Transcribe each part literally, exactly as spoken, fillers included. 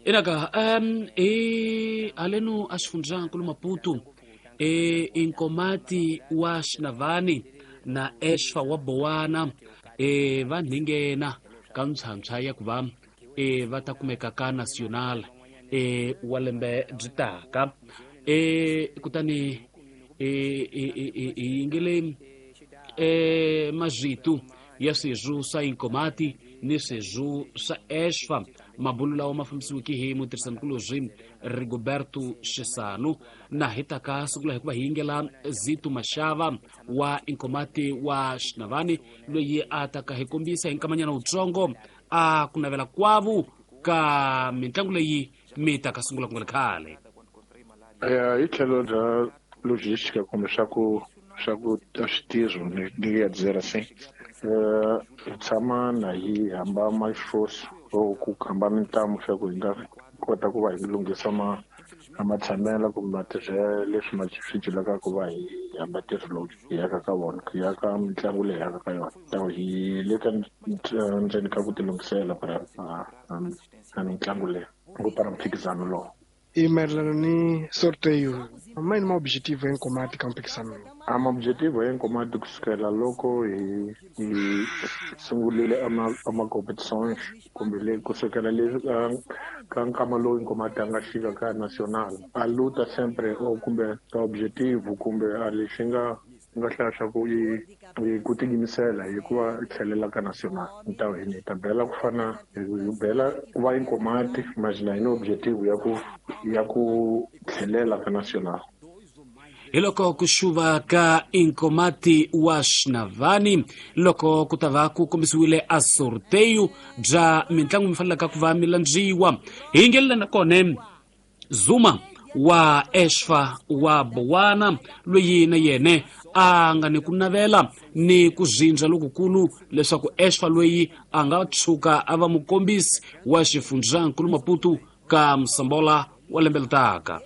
Inaka um e aleno a xifundzankulu Maputo e Inkomati wa Xinavani na Exfa wa Bowana e va nghena ka ntshantshwa ya ku va e va ta kumeka ka Nacional e wa lembe byi taka e kutani e e e yingele e mazitu ya sweswo swa Inkomati ni sweswo swa Exfa. Mabulo lawa ma fambisiweke hi mutirhisanikulobye Rigoberto Xisano na hi ta ka sungula hikuva hi yingela Zito Mashava wa Inkomati wa Xinavani loyi a ta ka hi kombisa hi nkamanyana wutsongo a ku navela kwavu ka mitlangu leyi mi ta ka sungula ku nga ri khale. Hi tlhelo bya logística kumbe swa ku swa ku switirho ni ya dzera se hi tshama na hi hamba maxifosi or ku hamba mintamu swa ku hi nga kota ku va hi lunghisa ma matshamelo kumbe matirhelo leswi ma swi celaka ku va hi hamba ntirho lowu hi yaka ka vona hi yaka mitlangu leyi yaka ka yona. So hi le ka ndzeni ka ku tilunghisela a mitlangu leyi ku para mphikizano lowu. E mayelana ni sorteio, ma yini ma objetivo ya Nkomati ka mphikizano lowu? A ma objetivo ya Nkomati kusukela loko hi hi sungulile ama ama competitions kumbe le kusukela le ka nkama lowu Nkomati a nga fika ka Nacional a luta sempre o kumbe ka objetivo kumbe a lexi nga nga hlaya swa ku i ku tiyimisela hikuva tlhelela ka Nacional. Ntawu hi ni ta bela ku fana hi bela ku va Nkomati mas na hi ni objetivo ya ku ya ku tlhelela ka Nacional. Hi loko ku xuva ka Inkomati wa Xinavani loko ku ta va ku kombisiwile a sorteio bya mitlangu mi fanelaka ku va mi landziwa. Hi yingelela na kona Zuma wa Exfa wa Bowana loyi na yena a nga ni ku navela ni ku zindza lokukulu leswaku Exfa loyi a nga tshuka a va mukombisi wa xifundzankulu Maputo ka Msambola wa lembe leri taka.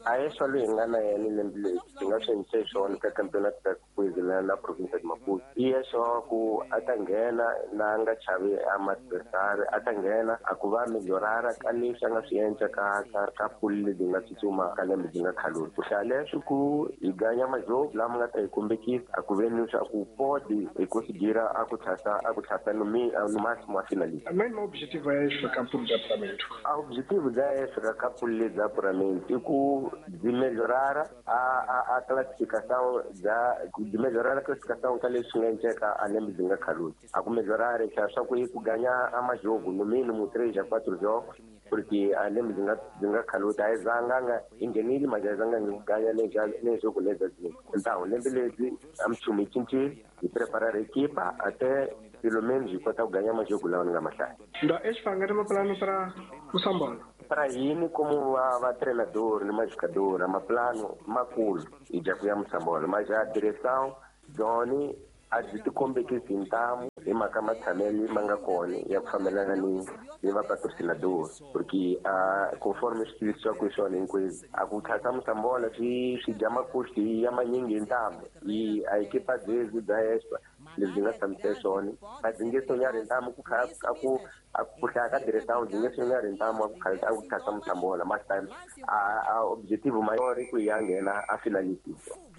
A Exfa loyi hi nga na yena lembe leri hi nga swi endlise swona ka campeonato da Coisa na province de Maputo. I Exfa wa ku a ta nghena na nga chavi a ma-adversary, a ta nghena a ku va melhorara ka leswi a nga swi endla ka ka ka pool lebyi nga tsutsuma ka lembe byi nga khalula. Ku hlaya leswi ku hi ganya majogo lama nga ta hi kombekisa a ku ve ni swa ku pode hi conseguir a ku tlhasa a ku tlhasa no mi no máximo a finalista. Ma yini ma objetivo ya Exfa ka pool bya apuramento? A objetivo bya Exfa ka pool lebyi bya apuramento i ku byi melhorara a a a classificação bya byi melhorara classificação ka leswi nga endleka a lembe byi nga khaluli. A ku melhorara xa swa ku ku ganya a majogo no mínimo três a quatro jogos porque a lembe byi nga byi nga khaluti a yi zanga nga hi nghenile mas a yi zanga ku ganya ne jogo leza zinto. Então lembe lebyi a minchumu yi cincile hi preparar equipa até pelo menos hi kota ku ganya majogo lawa ni nga ma hlaya. Nda Exfa a nga ri maplano para Moçambola? Para yini como va va treinador ni majogador a maplano makulu hi dya ku ya Moçambola, mas a direção byoni a byi ti kombekisi hi ntamu hi mhaka matshamelo ma nga kona ya ku fambelana ni ni va patrocinador porque a conforme swi tivisiwaka hi swona hinkwenu a ku tlhasa Moçambola swi swi dya makusti ya manyingi hi ntamu hi a ekipa byezi bya Exfa lebyi nga tshamise swona a byi nge sonyari ntamu ku kha a ku a ku hlaya ka direção byi nge sonyari ntamu a ku kha a ku tlhasa Moçambola mas time a a objetivo maior i ku ya nghena a finalista.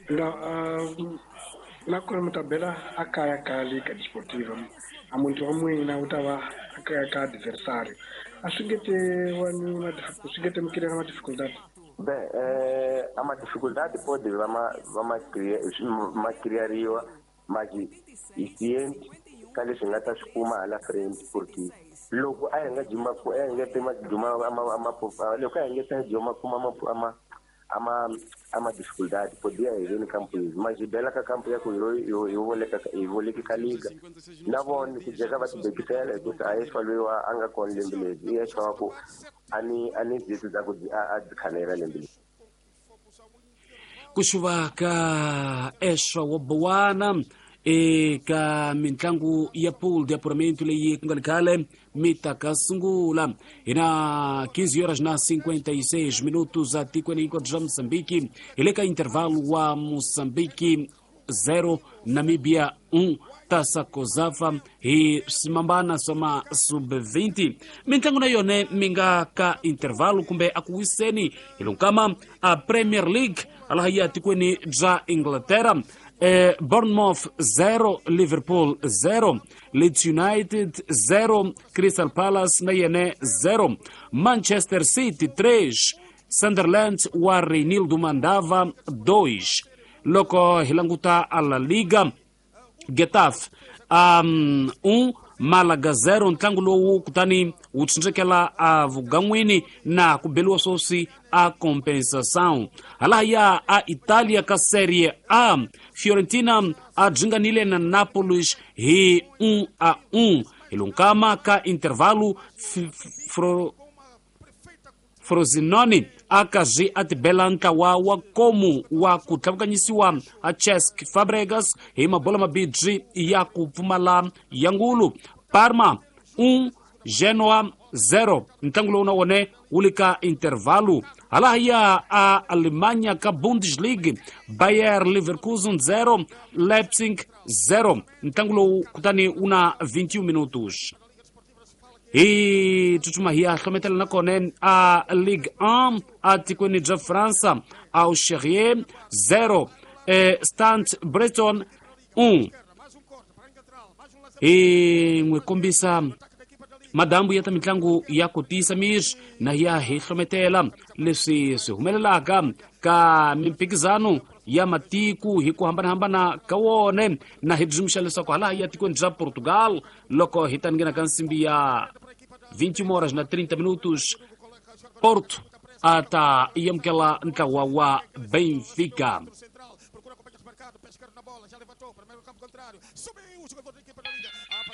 Nda na kona mi ta bela a kaya ka Liga Desportiva a muntu wa n'wina wu ta va a kaya ka adversário a swi nge te wa ni swi nge te mi kirela ma dificuldade? Bem, eh, a ma dificuldade pode va ma va ma ma criariwa mas hi ciente ka leswi hi nga ta swi kuma hala frente porque loko a hi nga juma a hi nga te ma juma ama ama loko a hi nga ta juma kuma ama ama ama ama dificuldade podia hi veni kampo yezi mas hi bela ka kampo ya ku hi hi voleka hi voleki ka liga na vona ku jeka va tibekisela hikuva a Exfa loyi wa a nga kona lembe leri i Exfa wa ku a ni a ni zitu za ku a byi khanela lembe leri. Ku xuva ka Exfa wa Bowana eka mitlangu ya pool de apuramento leyi ku nga ri khale mi ta ka sungula. Hi na quinze horas na cinquenta e seis minutos atikweni hinkwaro bya Moçambique hi le ka intervalo wa Moçambique. zero Namibia um Taça Cosafa hi swimambana swa ma sub vinte mintlangu na yona mi nga ka intervalo kumbe a ku wiseni hi lonkama a Premier League laha ya tikweni bya Inglaterra eh, Bournemouth zero Liverpool zero Leeds United zero Crystal Palace na yene zero Manchester City três Sunderland wa Reinildo Mandava dois loko hi languta a La Liga Getafe um, um Malaga zero ntlangu lowu kutani wu tsindzekela a vugan'wini na ku beliwa swoswi a compensação halahaya a Italia ka Serie A Fiorentina a dzinganile na Nápoles hi um a um hi lunkama ka intervalo Fro Frosinone a kazi a tibela ntlawa wa komu wa ku tlhavukanyisiwa a Cesc Fabregas hi mabola mabidzi ya ku pfumala ya ngulu Parma um Genoa zero ntlangu lowu na wone wu le ka intervalo halahaya a Alemanha ka Bundesliga Bayer Leverkusen zero Leipzig zero ntlangu lowu kutani wu na vinte e um minutos hi tsutsuma hi ya hlometela na kona a Ligue um a tikweni bya Fransa Auxerre zero eh, Stade Breton um hi n'wi kombisa madambu ya ta mitlangu ya ku tiyisa miri na ya hi hlometela leswi swi humelelaka ka mimphikizano ya matiku hi ku hambanahambana ka wona na hi dzumuxa leswaku hala ya tikweni bya Portugal loko hi ta nghena ka nsimbi ya vinte e uma horas na trinta minutos Porto a ta amukela ntlawa wa Benfica.